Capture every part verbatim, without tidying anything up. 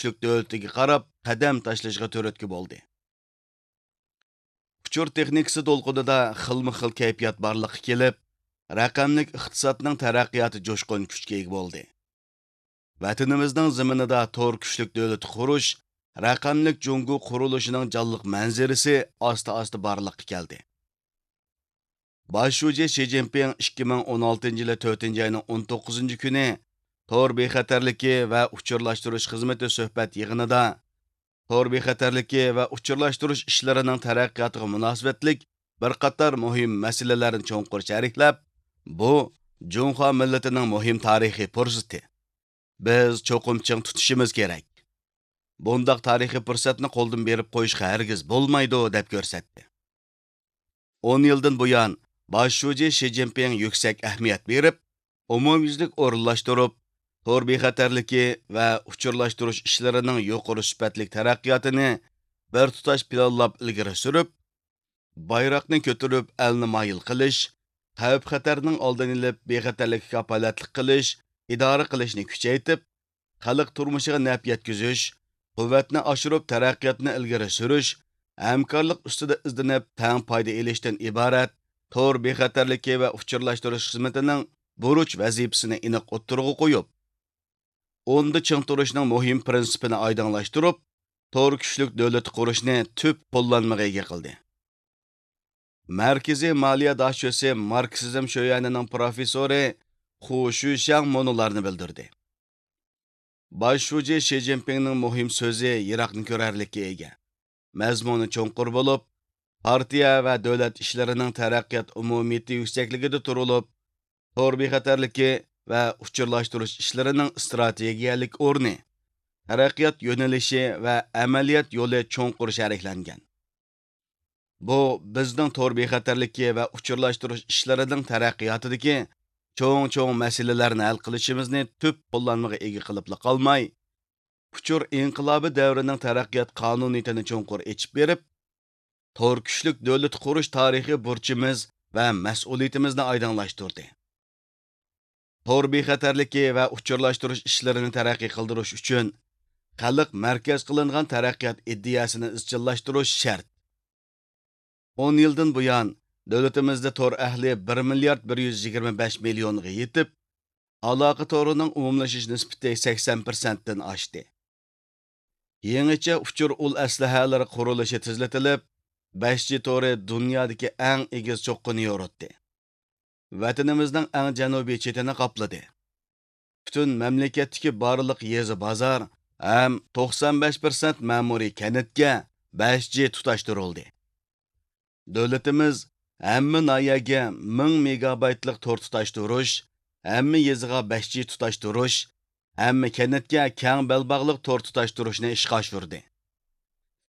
كۈچلۈك دۆلىتىگە قاراپ قەدەم تاشلىشىغا تۈرتكە بولدى. ئۇچۇر تېخنىكىسى دولقۇنىدا خىلمۇ خىل كەيپىيات بارلىققا كېلىپ، رەقەملىك ئىقتىسادنىڭ تەرەققىياتى جۇشقۇن كۈچكە ئىگە بولدى. ۋەتىنىمىزنىڭ زېمىنىدا تور كۈچلۈك دۆلىتى قۇرۇش، رەقەملىك جۇڭگو قۇرۇلۇشىنىڭ جانلىق مەنزىرىسى ئاستا-ئاستا بارلىققا كەلدى. باش شۇجى شى جىنپىڭ ئىككى مىڭ ئون ئالتىنچى يىلى تۆتىنچى ئاينىڭ ئون توققۇزىنچى كۈنى تور بىخەتەرلىكى ۋە ئۇچۇرلاشتۇرۇش خىزمىتى سۆھبەت يىغىنىدا تور بىخەتەرلىكى ۋە ئۇچۇرلاشتۇرۇش ئىشلىرىنىڭ تەرەققىياتىغا مۇناسىۋەتلىك بىر قاتار مۇھىم مەسىلىلەرنى چوڭقۇر شەرھلەپ، بۇ جۇڭخۇا مىللىتىنىڭ مۇھىم تارىخىي پۇرسىتى. بىز چوقۇم چىڭ تۇتۇشىمىز كېرەك. بۇنداق تارىخىي پۇرسەتنى قولدىن بېرىپ قويۇشقا ھەرگىز بولمايدۇ، دەپ كۆرسەتتى. ئون يىلدىن بۇيان، باش شۇجى شى جىنپىڭ يۈكسەك ئەھمىيەت بېرىپ، ئومۇميۈزلۈك ئورۇنلاشتۇرۇپ، تور بىخەتەرلىكى ۋە ئۇچۇرلاشتۇرۇش ئىشلىرىنىڭ يۇقىرى سۈپەتلىك تەرەققىياتىنى بىر تۇتاش پىلانلاپ ئىلگىرى سۈرۈپ، بايراقنى كۆتۈرۈپ، ئەلنى مايىل قىلىش، خەۋپ-خەتەرنىڭ ئالدىنى ئېلىپ، بىخەتەرلىككە كاپالەتلىك قىلىش، ئىدارە قىلىشنى كۈچەيتىپ، خەلق تۇرمۇشىغا نەپ يەتكۈزۈش، قۇۋۋەتنى ئاشۇرۇپ، تەرەققىياتنى ئىلگىرى سۈرۈش، ھەمكارلىق ئۈستىدە ئىزدىنىپ، تەڭ پايدا ئېلىشتىن ئىبارەت تور بىخەتەرلىكى ۋە ئۇچۇرلاشتۇرۇش خىزمىتىنىڭ بۇرچ ۋەزىپىسىنى ئېنىق ئوتتۇرىغا قويۇپ، ئوندا چىڭ تۇرۇشنىڭ مۇھىم پىرىنسىپىنى ئايدىڭلاشتۇرۇپ، تور كۈچلۈك دۆلىتى قۇرۇشنى تۈپ قوللانمىغا ئىگە قىلدى. مەركىزىي مالىيە داشۆسى ماركسىزم شۆيەنىنىڭ پروفېسسورى خۇ شۈشياڭ مۇنۇلارنى بىلدۈردى. باش شۇجى شى جىنپىڭنىڭ مۇھىم سۆزى يىراقنى كۆرەرلىككە ئىگە. مەزمۇنى چوڭقۇر بولۇپ، پارتىيە ۋە دۆلەت ئىشلىرىنىڭ تەرەققىيات ئومۇمىيىتى يۈكسەكلىكىدە تۇرۇلۇپ، تور بىخەتەرلىكى ۋە ئۇچۇرلاشتۇرۇش ئىشلىرىنىڭ ئىستراتېگىيەلىك ئورنى، تەرەققىيات يۆنىلىشى ۋە ئەمەلىيەت يولى چوڭقۇر شەرھلەنگەن. بۇ بىزنىڭ تور بىخەتەرلىكى ۋە ئۇچۇرلاشتۇرۇش ئىشلىرىنىڭ تەرەققىياتىدىكى چوڭ-چوڭ مەسىلىلەرنى ھەل قىلىشىمىزنى تۈپ قوللانمىغا ئىگە قىلىپلا قالماي، ئۇچۇر ئىنقىلابى دەۋرىنىڭ تەرەققىيات قانۇنىيىتىنى چوڭقۇر ئېچىپ بېرىپ، تور كۈچلۈك دۆلىتى قۇرۇش تارىخىي بۇرچىمىز ۋە مەسئۇلىيىتىمىزنى ئايدىڭلاشتۇردى. تور بىخەتەرلىكى ۋە ئۇچۇرلاشتۇرۇش ئىشلىرىنى تەرەققىي قىلدۇرۇش ئۈچۈن خەلق مەركەز قىلىنغان تەرەققىيات ئىدىيەسىنى ئىزچىللاشتۇرۇش شەرت. ئون يىلدىن بۇيان، دۆلىتىمىزدە تور ئەھلى بىر مىليارد بىر يۈز يىگىرمە بەش مىليونغا يېتىپ، ئالاقە تورىنىڭ ئومۇملىشىش نىسبىتى سەكسەن پىرسەنتتىن ئاشتى. يېڭىچە ئۇچۇر ئۇل ئەسلىھەلىرى قۇرۇلۇشى تېزلىتىلىپ، بەش جى تورى دۇنيادىكى ئەڭ ئېگىز چوققىنى يورۇتتى. ۋەتىنىمىزنىڭ ئەڭ جەنۇبىي چېتىنى قاپلىدى. پۈتۈن مەملىكەتتىكى بارلىق يېزا، بازار ھەم توقسان بەش پىرسەنت مەمۇرىي كەنتكە بەش جى تۇتاشتۇرۇلدى. دۆلىتىمىز ھەممە ناھىيەگە مىڭ مېگابايتلىق تور تۇتاشتۇرۇش، ھەممە يېزىغا بەش جى تۇتاشتۇرۇش، ھەممە كەنتكە كەڭ بەلباغلىق تور تۇتاشتۇرۇشنى ئىشقا ئاشۇردى.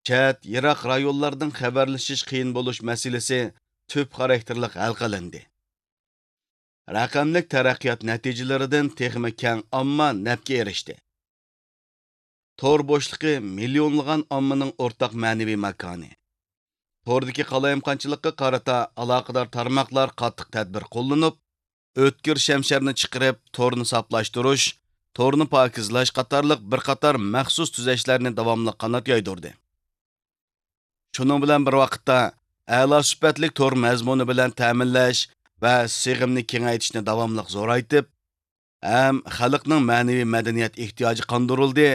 چەت، يىراق رايونلاردىن خەۋەرلىشىش قىيىن بولۇش مەسىلىسى تۈپ خاراكتېرلىق ھەل قىلىندى. رەقەملىك تەرەققىيات نەتىجىلىرىدىن تېخىمۇ كەڭ ئامما نەپكە ئېرىشتى. تور بوشلۇقى مىليونلىغان ئاممىنىڭ ئورتاق مەنىۋى ماكانى. توردىكى قالايمىقانچىلىققا قارىتا ئالاقىدار تارماقلار قاتتىق تەدبىر قوللىنىپ، ئۆتكۈر شەمشەرنى چىقىرىپ، تورنى ساپلاشتۇرۇش، تورنى پاكىزلاش قاتارلىق بىر قاتار مەخسۇس تۈزەشلەرنى داۋاملىق قانات يايدۇردى. شۇنىڭ بىلەن بىر ۋاقىتتا، ئەلا سۈپەتلىك تور مەزمۇنى بىلەن تەمىنلەش ۋە سىغىمنى كېڭەيتىشنى داۋاملىق زورايتىپ، ھەم خەلقنىڭ مەنىۋى مەدەنىيەت ئېھتىياجى قاندۇرۇلدى،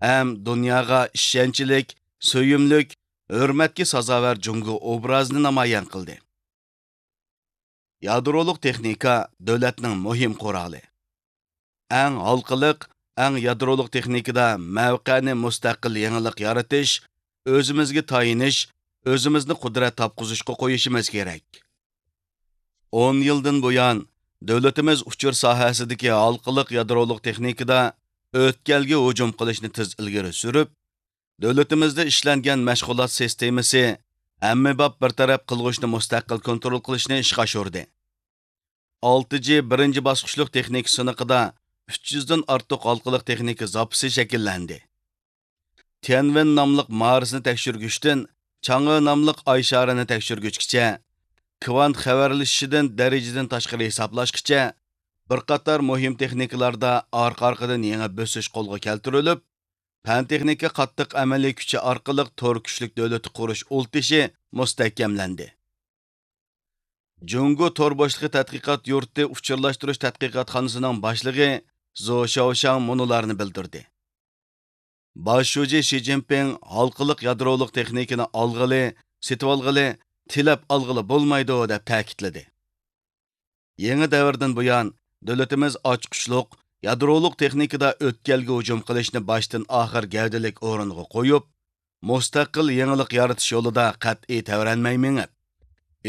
ھەم دۇنياغا ئىشەنچلىك، سۆيۈملۈك، ھۆرمەتكە سازاۋەر جۇڭگو ئوبرازىنى نامايان قىلدى. يادرولۇق تېخنىكا دۆلەتنىڭ مۇھىم قورالى. ئەڭ ھالقىلىق، ئەڭ يادرولۇق تېخنىكىدا مەۋقەنى مۇستەقىل يېڭىلىق يارىتىش، ئۆزىمىزگە تايىنىش، ئۆزىمىزنى قۇدرەت تاپقۇزۇشقا قويۇشىمىز كېرەك. ئون يىلدىن بۇيان، دۆلىتىمىز ئۇچۇر ساھەسىدىكى ھالقىلىق يادرولۇق تېخنىكىدا ئۆتكەلگە ھۇجۇم قىلىشنى تېز ئىلگىرى سۈرۈپ، دۆلىتىمىزدە ئىشلەنگەن مەشغۇلات سىستېمىسى ئەممىباب بىر تەرەپ قىلغۇچنى مۇستەقىل كونترول قىلىشنى ئىشقا ئاشۇردى. ئالتە جى بىرىنچى باسقۇچلۇق تېخنىكا سىنىقىدا ئۈچ يۈزدىن ئارتۇق ھالقىلىق تېخنىكا زاپىسى شەكىللەندى. تيەنۋېن ناملىق مارسنى تەكشۈرگۈچتىن چاڭئې ناملىق ئاي شارىنى تەكشۈرگۈچكىچە، كۋانت خەۋەرلىشىشىدىن دەرىجىدىن تاشقىرى ھېسابلاشقىچە، بىر قاتار مۇھىم تېخنىكىلاردا ئارقا-ئارقىدىن يېڭى بۆسۈش قولغا كەلتۈرۈلۈپ، پەن-تېخنىكا قاتتىق ئەمەلىي كۈچى ئارقىلىق تور كۈچلۈك دۆلىتى قۇرۇش ئۇل تېشى مۇستەھكەملەندى. جۇڭگو تور بوشلۇقى تەتقىقات يۇرتى ئۇچۇرلاشتۇرۇش تەتقىقاتخانىسىنىڭ باشلىقى زو شياۋشياڭ مۇنۇلارنى بىلدۈردى. باش شۇجى شى جىنپىڭ ھالقىلىق يادرولۇق تېخنىكىنى ئالغىلى، سېتىۋالغىلى، تىلەپ ئالغىلى بولمايدۇ، دەپ تەكىتلىدى. يېڭى دەۋردىن بۇيان، دۆلىتىمىز ئاچقۇچلۇق، يادرولۇق تېخنىكىدا ئۆتكەلگە ھۇجۇم قىلىشنى باشتىن ئاخىر گەۋدىلىك ئورۇنغا قويۇپ، مۇستەقىل يېڭىلىق يارىتىش يولىدا قەتئىي تەۋرەنمەي مېڭىپ،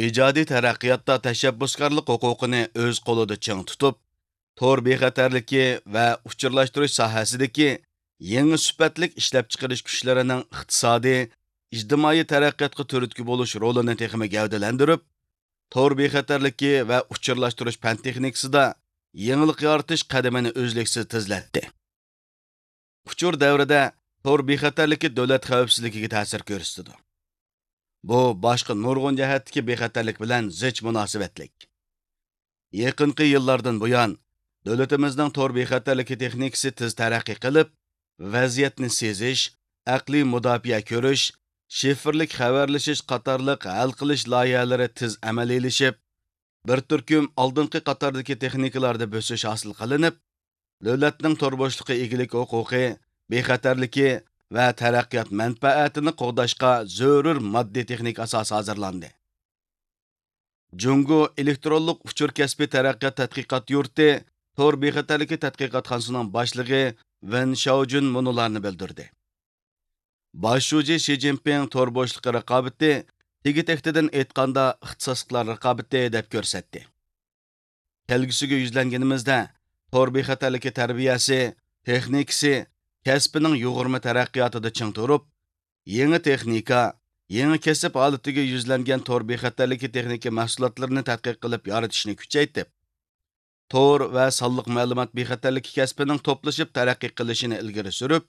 ئىجادىي تەرەققىياتتا تەشەببۇسكارلىق ھوقۇقىنى ئۆز قولىدا چىڭ تۇتۇپ، تور بىخەتەرلىكى ۋە ئۇچۇرلاشتۇرۇش ساھەسىدىكى يېڭى سۈپەتلىك ئىشلەپچىقىرىش كۈچلىرىنىڭ ئىقتىسادىي، ئىجتىمائىي تەرەققىياتقا تۈرتكە بولۇش رولىنى تېخىمۇ گەۋدىلەندۈرۈپ، تور بىخەتەرلىكى ۋە ئۇچۇرلاشتۇرۇش پەن-تېخنىكىسىدا يېڭىلىق يارىتىش قەدىمىنى ئۈزلۈكسىز تېزلەتتى. ئۇچۇر دەۋرىدە تور بىخەتەرلىكى دۆلەت خەۋپسىزلىكىگە تەسىر كۆرسىتىدۇ. بۇ باشقا نۇرغۇن جەھەتتىكى بىخەتەرلىك بىلەن زىچ مۇناسىۋەتلىك. يېقىنقى يىللاردىن بۇيان، دۆلىتىمىزنىڭ تور بىخەتەرلىكى تېخنىكىسى تېز تەرەققىي قىلىپ، ۋەزىيەتنى سېزىش، ئەقلىي مۇداپىئە كۆرۈش، شىفىرلىك خەۋەرلىشىش قاتارلىق ھەل قىلىش لايىھەلىرى تېز ئەمەلىيلىشىپ، بىر تۈركۈم ئالدىنقى قاتاردىكى تېخنىكىلاردا بۆسۈش ھاسىل قىلىنىپ، دۆلەتنىڭ تور بوشلۇقى ئىگىلىك ھوقۇقى، بىخەتەرلىكى ۋە تەرەققىيات مەنپەئەتىنى قوغداشقا زۆرۈر ماددىي تېخنىكا ئاساسى ھازىرلاندى. جۇڭگو ئېلېكترونلۇق ئۇچۇر كەسپى تەرەققىيات تەتقىقات يۇرتى تور بىخەتەرلىكى تەتقىقاتخانىسىنىڭ باشلىقى ۋېن شياۋجۈن مۇنۇلارنى بىلدۈردى. باش شۇجى شى جىنپىڭ تور بوشلۇقى رىقابىتى تېگى-تەكتىدىن ئېيتقاندا ئىختىساسلىقلار رىقابىتى دەپ كۆرسەتتى. كەلگۈسىگە يۈزلەنگىنىمىزدە، تور بىخەتەرلىكى تەربىيەسى، تېخنىكىسى، كەسپىنىڭ يۇغۇرما تەرەققىياتىدا چىڭ تۇرۇپ، يېڭى تېخنىكا، يېڭى كەسىپ ھالىتىگە يۈزلەنگەن تور بىخەتەرلىكى تېخنىكا مەھسۇلاتلىرىنى تەتقىق قىلىپ يارىتىشنى كۈچەيتىپ، تور ۋە سانلىق مەلۇمات بىخەتەرلىكى كەسپىنىڭ توپلىشىپ تەرەققىي قىلىشىنى ئىلگىرى سۈرۈپ،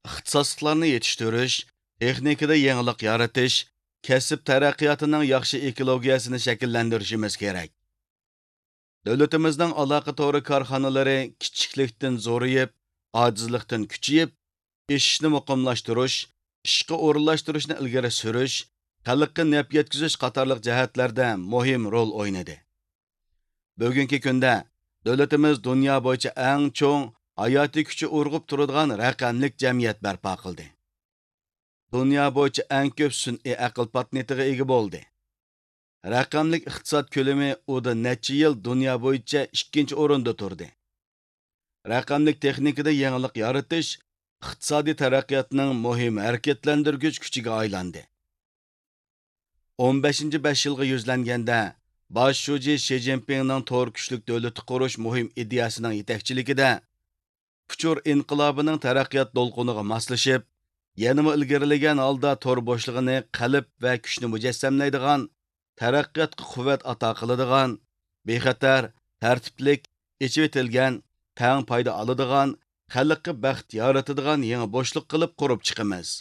ئىختىساسلىقلارنى يېتىشتۈرۈش، تېخنىكىدا يېڭىلىق يارىتىش، كەسىپ تەرەققىياتىنىڭ ياخشى ئېكولوگىيەسىنى شەكىللەندۈرۈشىمىز كېرەك. دۆلىتىمىزنىڭ ئالاقە تورى كارخانىلىرى كىچىكلىكتىن زورىيىپ، ئاجىزلىقتىن كۈچىيىپ، ئېشىشنى مۇقىملاشتۇرۇش، ئىشقا ئورۇنلاشتۇرۇشنى ئىلگىرى سۈرۈش، خەلققە نەپ يەتكۈزۈش قاتارلىق جەھەتلەردە مۇھىم رول ئوينىدى. بۈگۈنكى كۈندە دۆلىتىمىز دۇنيا بويىچە ئەڭ چوڭ، ھاياتىي كۈچى ئۇرغۇپ تۇرىدىغان رەقەملىك جەمئىيەت بەرپا قىلدى. دۇنيا بويىچە ئەڭ كۆپ سۈنئىي ئەقىل پاتېنتىغا ئىگە بولدى. رەقەملىك ئىقتىساد كۆلىمى ئۇدا نەچچە يىل دۇنيا بويىچە ئىككىنچى ئورۇندا تۇردى. رەقەملىك تېخنىكىدا يېڭىلىق يارىتىش ئىقتىسادىي تەرەققىياتنىڭ مۇھىم ھەرىكەتلەندۈرگۈچ كۈچىگە ئايلاندى. ئون بەشىنچى بەش يىلغا يۈزلەنگەندە، باش شۇجى شى جىنپىڭنىڭ تور كۈچلۈك دۆلىتى قۇرۇش مۇھىم ئىدىيەسىنىڭ يېتەكچىلىكىدە، ئۇچۇر ئىنقىلابىنىڭ تەرەققىيات دولقۇنىغا ماسلىشىپ، يەنىمۇ ئىلگىرىلىگەن ھالدا تور بوشلۇقىنى قەلب ۋە كۈچنى مۇجەسسەملەيدىغان، تەرەققىياتقا قۇۋۋەت ئاتا قىلىدىغان، بىخەتەر، تەرتىپلىك، ئېچىۋېتىلگەن، تەڭ پايدا ئالىدىغان، خەلققە بەخت يارىتىدىغان يېڭى بوشلۇق قىلىپ قۇرۇپ چىقىمىز.